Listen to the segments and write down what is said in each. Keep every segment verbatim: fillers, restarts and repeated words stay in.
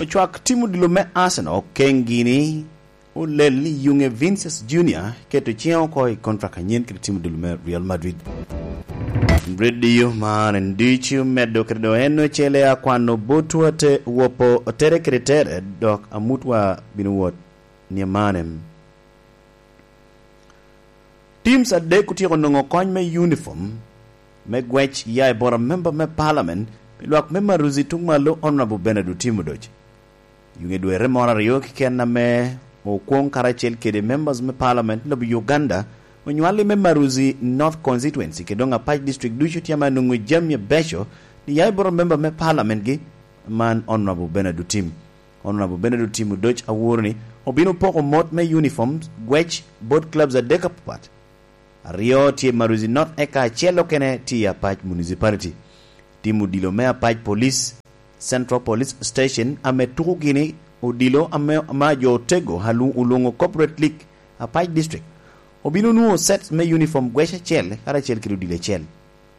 Ocwak tim odilo me Arsenal keŋ gini olel ni yuŋe Vinicius Junior keto ciŋe oko i kontrak anyen kede tim odilo me Real Madrid. Redio man en ducu medo kede do en ocele akwano botwa te wopo tere kede tere, dok amutwa bino wot ni amanem. Teams adek otyeko nwoŋo kony me uniform me gwec ya i bot amemba me parliament pi lwak me Maruzi tuŋ malo Honorable Bernard Otim Odoc. Yuŋe dwere moro aryo keken ame okwoŋ karacel kede members me parliament lobo Uganda onywalli me Maruzi North Constituency kede doŋ Apac District ducu tye ame anwoŋo jami abeco ni ya i bot amemba me parliament gi man Honorable Bernard Otim. Honorable Bernard Otim Odoc aworo ni obino poko mot me uniform gwec bot clubs adek apapat. Aryo tye i Maruzi North eka acel okene tye i Apac Municipality. Tim odilo me Apac Police, Central Police Station ame tuko gini odilo ame, ame jo otego alu-, olwoŋo Corporate League, Apac District, obino nwoŋo sets me uniform gwec acel karacel kede odilo acel.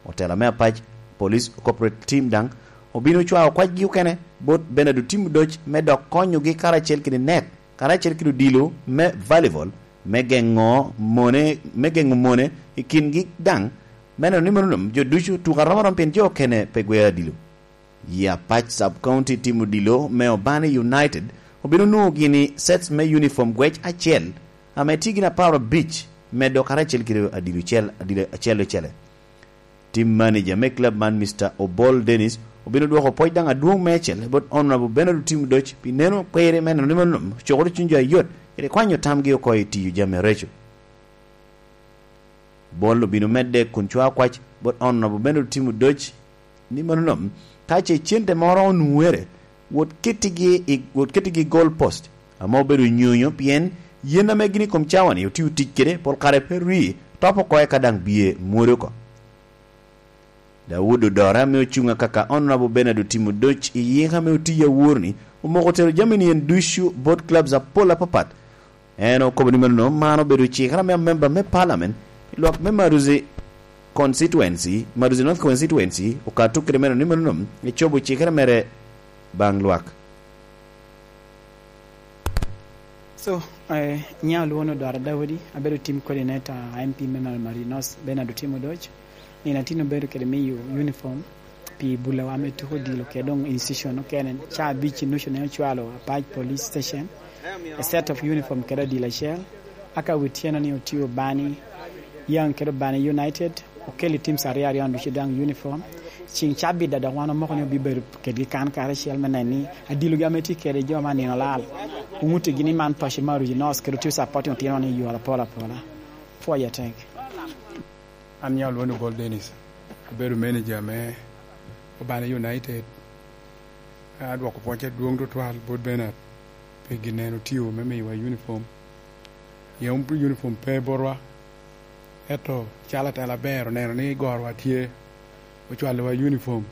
Otela me Apac Police Corporate Team daŋ obino cwao kwacgi okene bot Bernard Otim Odoc me dok konyogi karacel kede net, karacel kede odilo me volleyball, me geŋo mone, me geŋo mone i kingi daŋ, me neno ni mano nom jo ducu tuko arom arom pien jo okene pe gwero adilo. I Apac Sub County tim odilo me Obani United obino nwoŋo gini sets me uniform gwec acel, ame tye gin apar abic, medo karacel kede adilo cel, adilo acel ocele. Team manager me club man, Mister Obol Dennis, obino dwoko pwoc daŋ adwoŋ meicel bot Honorable Bernard Otim Odoc pi neno kwiri me neno ni mano ocokoro cuny jo ayot kede kwanyo tamgi oko i tiyo jami areco. Obol obino medde kun cwao kwac bot Honorable Bernard Otim Odoc ni mano nom, ka ce cente moro onwoŋere, wot kettigi i, wot kettigi i goal post, ame obedo nyonyo pien yen ame gin i kom cawa-ni otio tic kede pol kare pe ri, top oko eka daŋ bye mwodi oko. Daud Odora ame ocuŋ akaka Honorable Bernard Otim Odoc i yik ame otiyo awor-ni, omoko tero jami-ni en ducu bot clubs apol apapat. En okobo ni mano man obedo cikere ame amemba me parliament pi lwak me Maruzi Constituency, Maruzi North Constituency, okato kede meno ni mano ecobo cikere mere baŋ lwak. So, eh, nya olwono Dwara Daudi, abedo team coordinator M P me Maruzi North, Bernard Otim Odoc. Nino atin obedo kede miyo uniform pi bulawa me tuko odilo kede doŋ institution okene. Ca abic i nucu ne ocwalo Apac Police Station, a set of uniform kede odilo acel. Aka wi tyeno ni otio Bani Young kede Bani United, okeli teams aryo aryo ducu daŋ uniform. Ciŋ cabit da dok wan omoko ni obibedo kedgi kan karacel me neno ni adilogi ame tye kede jo ma nino lal. Oŋuttigi ni man paco me Aruji North kede otio supporting otino ni i yore apol apola. Pwoyo atek. An nya olwoŋo Gol Dennis, abedo manager me Obana United. Adwoko pwoc adwoŋ tutwal bot Bernard pi gin en otio me miyowa uniform. Pien uniform pe botwa, ento calo atela aber oneno ni gorowa tye, ocwalowa uniform,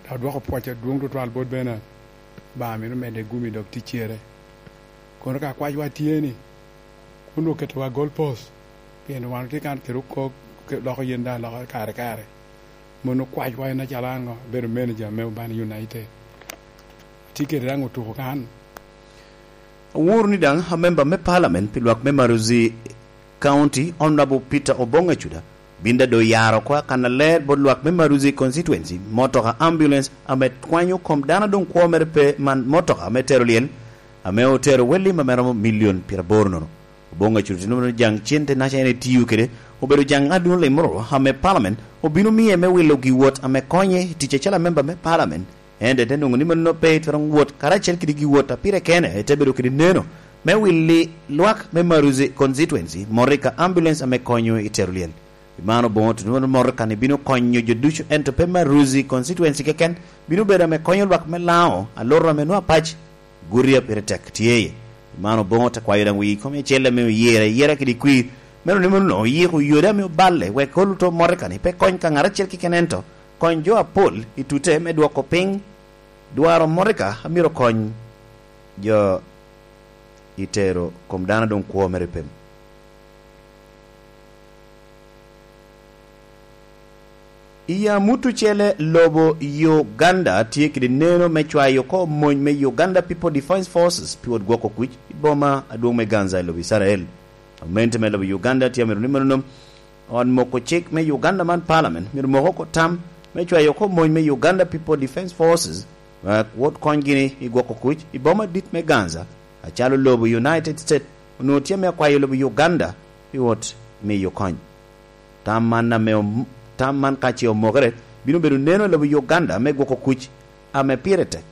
dok odwoko pwoc adwoŋ tutwal bot Bernard. Obaŋa mito medde gumi dok ticcere. Kono ka kwacwa tye ni, kun oketowa goal post, pien wan otye kan kede okok, loko yen daŋ loko kare kare. Mon okwacwa en acalo an ŋo, abedo manager me Obani United. Atye kede daŋ otuko kan. Aworo ni daŋ amemba me parliament pi lwak me Maruzi County, Honorable Peter Obong Acuda, bin daŋ doŋ oyaro oko akannaler bot lwak me Maruzi Constituency, motoka ambulance ame kwanyo kom dano doŋ kwo mere pe man motoka me tero lyel, ame otero wel lim ame romo milion pyeraboro nono. Oboŋo Acuda tye nwoŋo jaŋ cente naca en etio kede, obedo jaŋ adwoŋ limoro ame parliament obino miye me wilo giwot ame konye i tic acalo amemba me parliament. Ento ete nwoŋo ni mano pe twero wot karacel kede giwot a pire kene, ete bedo kede neno me wili lwak me Maruzi Constituency, morika ambulance ame konyo i tero lyel. Pi man Oboŋo tye nwoŋo morika ni bino konyo jo ducu, ento pe Maruzi Constituency keken, bino bedo ame konyo lwak me Laŋo, Aloro ame nwoŋo apac, Guria pire tek tye iye. Pi man Oboŋo te kwayo daŋ wi kom acel ame oyere ayera kede kwir, meno ni meno oyiko yode ame oballe wek oluto morika ni pe kony ka ŋat acel keken, ento kony jo apol i tute me dwoko piny dwaro morika a myero kony jo i tero kom dano doŋ kwo mere i pem. I amut ocele, lobo Uganda tye kede neno me cwayo oko mony me Uganda People Defence Forces pi wot gwoko kuc i boma adwoŋ me Gaza i lobo Icrael. Gamente me lobo Uganda tye amito ni mano ot moko cik me Uganda man, Parliament, myero mok oko tam me cwayo oko mony me Uganda People Defence Forces, wek wot kony gini i gwoko kuc i boma dit me Gaza, acalo lobo United States onwoŋo tye ame akwayo lobo Uganda pi wot miyo kony. Tam man ame om-, tam man ka ce omokere, bino bedo neno i lobo Uganda me gwoko kuc ame pire tek.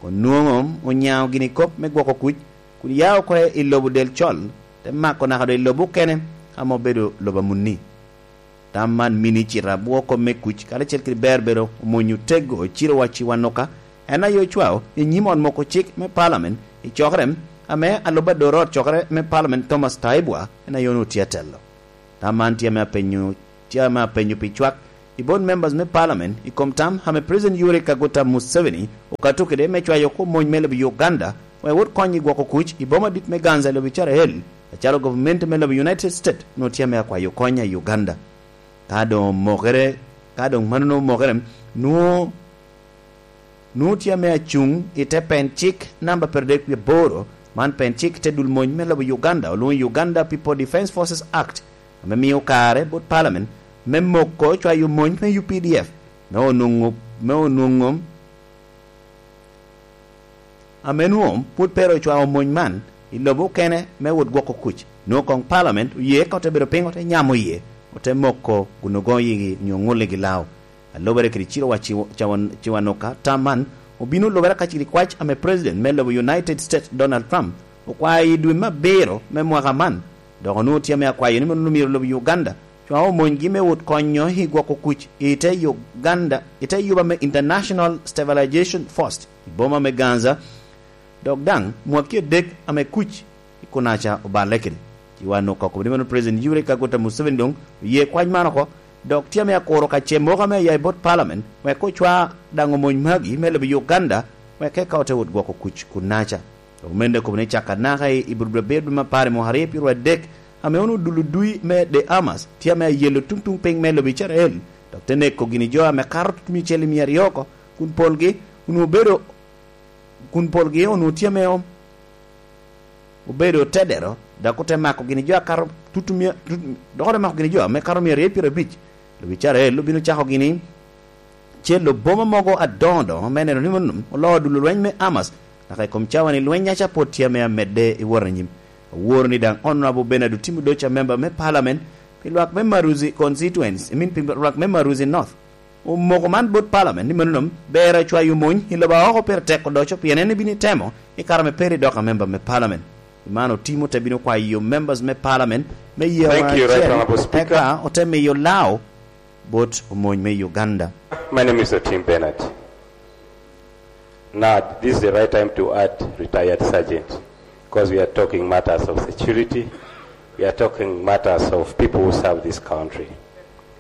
Onwoŋo onyaŋo gini kop me gwoko kuc, kun ya oko i lobo del col, te mako naka doŋ i lobo okene ame obedo lobo amunni. Tam man mini cito abwo kop me kuc, karacel kede ber bedo omwonyo tego Cirowa Ciwanuka, en aye ocwao i nyim ot moko cik me Parliament i cokere ame alub adoro ot cokere me Parliament Thomas Taiebwa, en aye onwoŋo tye atelo. Tam man tye ame apenyo, tye ame apenyo pi cwak i bot members me Parliament i kom tam ame President Yoweri Kaguta Museveni okato kede me cwayo oko mony me lobo Uganda wek wot kony i gwoko kuc i boma dit me Gaza i lobo Icrael, acalo gavumenti me lobo United States onwoŋo tye ame akwayo kony i Uganda. Ka doŋ omokere, ka doŋ mano omokere, nwoŋo nwoŋo tye ame acuŋ i te pen cik namba pyeradek wie aboro, man pen cik te dul mony me lobo Uganda, olwoŋo Uganda People Defence Forces Act, ame mio kare bot Parliament me moko cwayo mony me U P D F, me onwoŋo, me onwoŋo, ame nwoŋo pwod pe ru ocwao mony man i lobo okene me wot gwoko kuc. Nwoŋo koŋ Parliament oye ka ote bedo piny, ote nyamo iye, ote moko kun ogoŋo yigi onyo ŋulligi lao. A lubere kede Cirowa Ciw-, Cawan-, Ciwanuka, tam man obino lubere ka kede kwac ame President me lobo United States, Donald Trump, okwayo i dwe me abiro me mwaka man, dok onwoŋo tye ame akwayo ni mono myero lobo Uganda cwa omonygi me wot konyo i gwoko kuc i te Uganda, i te yuba me International Stabilization Force i boma me Gaza, dok daŋ mwaki adek ame kuc i kunaca oballe kede. Ci wan okobo ni mano President Yoweri Kaguta Museveni doŋ oye kwac man oko, dok tye ame akuro ka ce moko ame aya i bot Parliament, wek ocwa daŋ omony magi me lobo Uganda, wek eka ote wot gwoko kuc kunaca. Omende okobo ni caka naka i, i Abril abiro dwe me apar i mwaka aryo pyeraryo adek, ame onwoŋo dul odui me The Hamas tye ame ayelo tuŋ tuŋ piny me lobo Icrael, dok te neko gini jo ame kato tutumia ocele mia aryo oko, kun polgi onwoŋo obedo, kun polgi onwoŋo tye ame o-, obedo tedero, dok ote mako gini jo akato tutumia, tut-, dok ote mako gini jo ame kato mia aryo pyerabic. Lobo Icrael obino cako gini celo boma mogo adoŋo doŋo me neno ni mono oloo dul lweny me Hamas, naka i kom cawa ni lweny aca pwod tye ame amedde i wot anyim. Aworo ni daŋ Honorable Bernard Otim Odoch, a member me Parliament pi lwak me Maruzi Constituency, I mean, pi lwak me Maruzi North, omoko man bot Parliament ni mano ber acwayo mony i lobo a oko pire tek odoco, pien en ebino temo i kare ame Perry dok a member me Parliament. I man Otim ote bino kwayo members me Parliament me ye Thank you, Right acel, Honorable Speaker. Eka ote miyo lao bot omony me Uganda. My name is Otim Bernard. Now, this is the right time to add retired sergeant, because we are talking matters of security, we are talking matters of people who serve this country.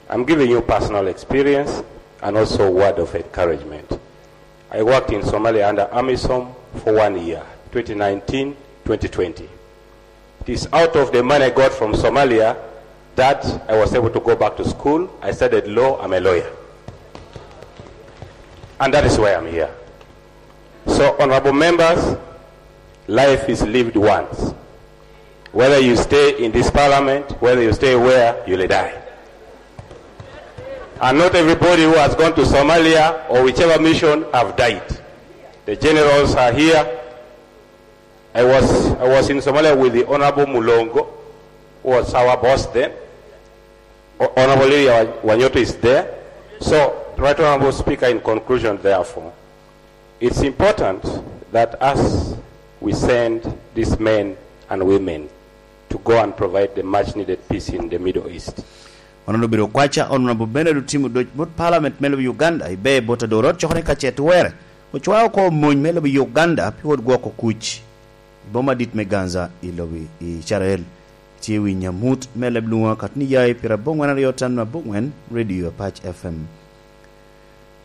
I'm giving you personal experience and also a word of encouragement. I worked in Somalia under AMISOM for one year, twenty nineteen, twenty twenty. It is out of the money I got from Somalia that I was able to go back to school. I studied law. I'm a lawyer. And that is why I'm here. So, honorable members, life is lived once. Whether you stay in this parliament, whether you stay where, you'll die. And not everybody who has gone to Somalia or whichever mission have died. The generals are here. I was, I was in Somalia with the Honorable Mulongo, who was our boss then. O-, Honorable Lydia Wa-, Wanyoto is there. So, Right Honorable Speaker, in conclusion, therefore, it's important that as we send these men and women to go and provide the much needed peace in the Middle East. Ono obedo kwaca, Honorable Bernard Otim Odoch bot Parliament me lobo Uganda, ibe bot adorot cokere ka ce twerre, ocwao oko mony me lobo Uganda pi wot gwoko kuc i boma dit me Gaza i lobo i Israel. Tye wi nyamut me leb lwoŋo akatni ya i pyerabongwen aryo tam abongwen, Radio Apac F M.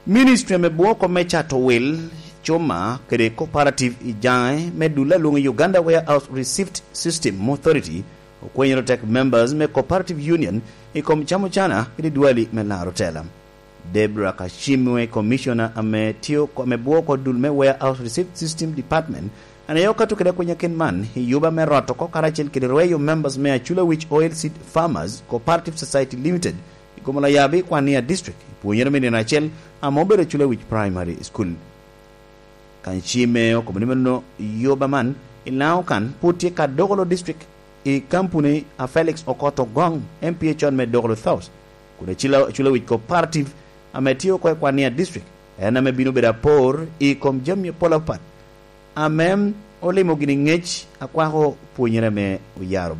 Ministry me bwoko me cato wil, cuma kede cooperative i Jaŋe me dul alwoŋo i Uganda Warehouse Receipt System Authority okwenyere tek members me Cooperative Union i kom cam ocana kede dwali me laro tela. Debra Kashimwe, commissioner ame tio ame bwoko dul me Warehouse Receipt System Department, ane yo kato kede akwenya ken man i yuba me rot oko karacel kede rweyo members me Achula Wich Oil Seed Farmers Cooperative Society Limited i kom Olayabi Kwania District i pwonyere me nino acel ame obedo Achula Wich Primary School. Kacime okobo ni meno yuba man i Laŋo kan pwod tye ka Dokolo District i kampuni a Felix Okoth Ogong, M P A con me Dokolo South, kun Achula Wic Cooperative ame tye oko i Kwania District en ame bino bedo apor i kom jami apol apat ame olimo gini ŋec akwako pwonyere ame oyaro